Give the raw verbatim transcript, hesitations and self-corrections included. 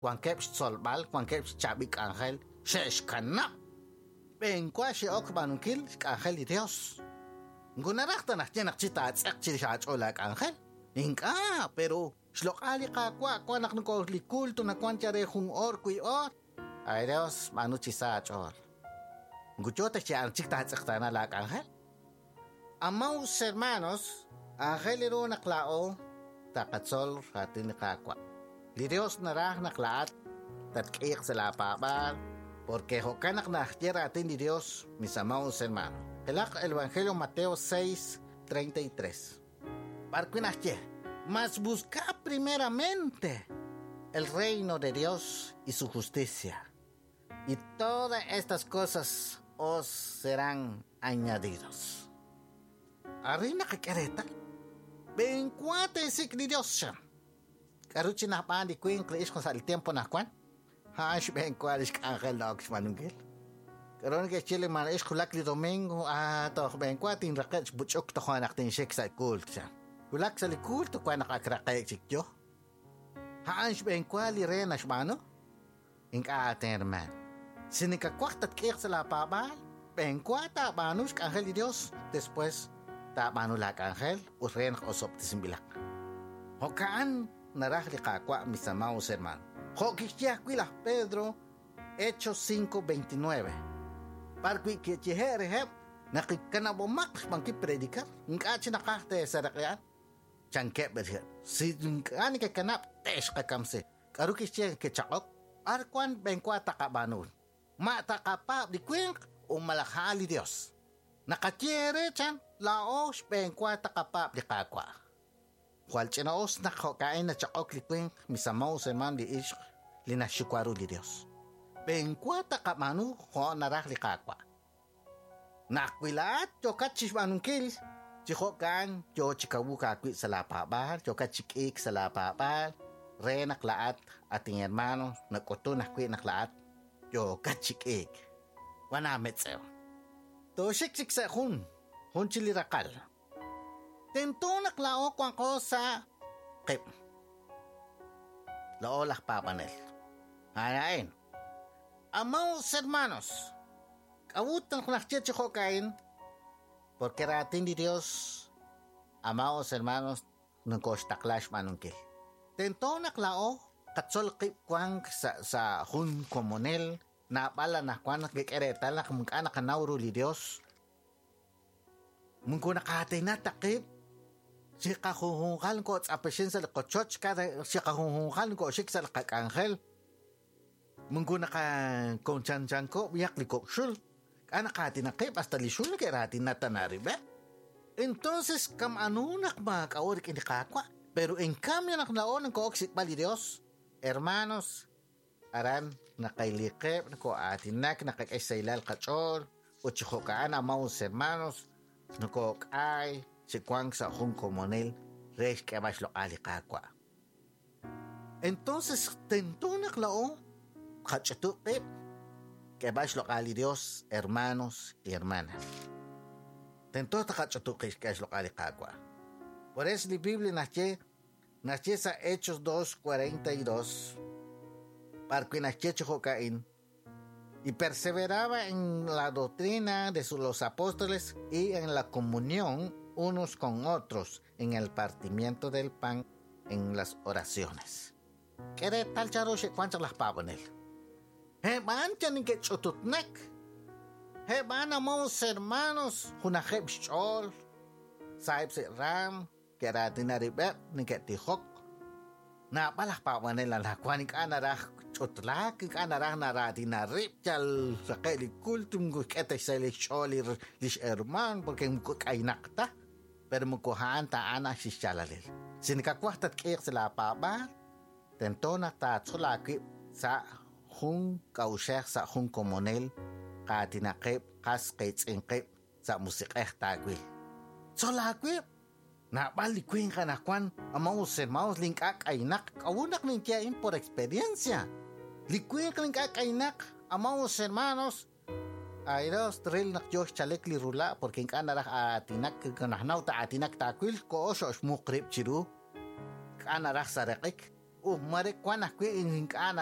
Wankeb' xtzolb'al, wankeb' xchaab'il k'anjel, xe'xkanab'. B'enwa xe'ok b'aanunkil xk'anjel li Dios. Moko naraj ta naq ye naq chi taatz'eq chirix aach'ool aak'anjel. Ink'a', pero xloq'al li Qaawa' wan naq noko li culto nawan ya re jun or kui or. Ay Dios, b'aanu chi sa aach'ool. Moko yo ta xye'an chik taatz'eqtaana laak'anjel. Amados hermanos, aajel ru naq laa'o taqatzol raatin li Qaawa'. Li Dios naraj naq laa'at tatk'iiq sa' laapaab'aal, porque jo'kan naq naxye raatin li Dios, mis amados hermanos. Qilaq el Evangelio Mateo seis, treinta y tres. B'ar wi' naxye, mas buscad primeramente el reino de Dios y su justicia, y todas estas cosas os serán añadidos. Arin naqak'e reetal. B'enwa teesik' li Dios xa. K'aru chi najb'aan li winq li ixq sa' li tiempo najwan? A'an xb'enwa li xk'anjel na'ok xb'aanunkil. K'aru neke'xye li man ixq wulak li domingo, ah, toj b'enwa tinraqe' xb'uch'uk toj naq tinxik sa' culto xa. Wulak sa' li culto wan naq ak raqe' chik yo. A'an xb'enwa li re naxb'aanu? Ink'a' aten hermano. Si nikawaj tatk'iiq sa' laapaab'aal, b'enwa taab'aanu xk'anjel li Dios, después taab'aanu laak'anjel ut re naq osob'tesinb'ilaq. Jo'ka'an naraj li Qaawa', mis amados hermanos. Jo' kixye ajwi' laj Pedro, Hechos cinco veintinueve. B'ar wi' kiyehe' reheb' naq kanab'omaq xb'ankil predicar, ink'a' chi naqaj teesaraq'e'an. Chankeb' reheb'. Si ink'a' nekekanab' te'xqakamsi. K'aru kixye kechaq'ok? B'ar wan b'enwa taqab'aanu? Ma taqapaab' li winq o malaj a'an li Dios? Naqaye re chan laa'o xb'enwa taqapaab' li Qaawa'. Jwal ch'ina'us naq jo'ka'in nachaq'ok li winq, mis amados hermanos li ixq li naxxuwa ru li Dios. B'enwa taqab'aanu jo' naraj li Qaawa'. Naq wi laa'at yokat chixb'aanunkil, chi jo'kan yo chi kawuk aawib' sa' laapaab'aal, yokat chi k'iik sa' laapaab'aal, re naq laa'at, atin hermano, nak'utun ajwi' naq laa'at yokat chi k'iik. Wan aametz'ew. Tooxik chik sa' jun, jun chi li raqal. Tento naq laa'o wanqo sa' qib'. Laa'o laj paab'anel. A'in. Amados hermanos, k'a'ut naq naxye chi jo'ka'in? Porque raatin li Dios, amados hermanos, nokoxtaqla xb'aanunkil. Tento naq laa'o qatzol qib' wank sa', sa' jun komonel, naab'al anaqwan naq kik'e reetal naq ink'a' naqanaw ru li Dios. Moko naqaatina ta qib', chiqajunjunqal nkotz'apexin sa' li qochoch, cada chiqajunjunqal nkoxik sa' li qak'anjel. Moko naqakonchanchanko b'iyaq li kok'xul, k'a naqaatina qib' hasta li xul neke'raatina ta narib'e. Entonces, kam anu naq maak'a'o rik'in li Qaawa', pero en cambio naq na'o nko'ok xsik'b'al li Dios, hermanos, aran naqayliqeb', nko'aatinak, naqak'e xsaylal qach'ool, ut chi jo'ka'an, amados hermanos, nko'k'ay chi wank sa' jun komonel re xk'eb'al xloq'al li Qaawa'. Entonces, tento naq la'o qach'utu qib', k'eb'al xloq'al li Dios, hermanos y hermanas. Tento taqach'utu qib' xk'eb'al xloq'al li Qaawa'. Por eso la Biblia naxye, naxye sa' Hechos dos cuarenta y dos, b'ar wi' naxye chi jo'ka'in, y perseveraba en la doctrina de los apóstoles y en la comunión unos con otros, en el partimiento del pan, en las oraciones. K'e tal charo xe'wan chaq laj paab'anel. Heb'an chan neke'ch'ututnak. Heb'an amados hermanos, junajeb' xch'ool, sahib' se'ram, ke'raatina rib'eb', neke'tijok. Naab'al laj paab'anel anaqwan ink'a' naraj ch'utlaak, ink'a' naraj naraatina rib', yal raqe' li culto, moko k'e ta xsahil xch'ool li r-, lix hermano, porque moko k'aynaq ta, pero moko a'an ta a'an xixchalalil. Si nakawaj tatk'iiq sa' laapaab'aal, tento naq taatzol aawib' sa' jun k'a'uxej, sa' jun komonel, qaatinaqeb', qas qiitz'inqeb' sa' musiq'ej taawil. Tzol aawib'. Naab'al li winq anaqwan, amados hermanos, li ink'a' k'aynaq, k'a'ut naq ninye a'in por experiencia. Li winq li ink'a' k'aynaq, amados hermanos, ay Dios, tril naq yo xchalek li rula', porque ink'a' naraj aatinak, najnaw ta aatinak taawil, ko'o xo'xmuq rib' chiru. Ink'a' naraj sareq'ik. Uj mare wan ajwi' ink'a'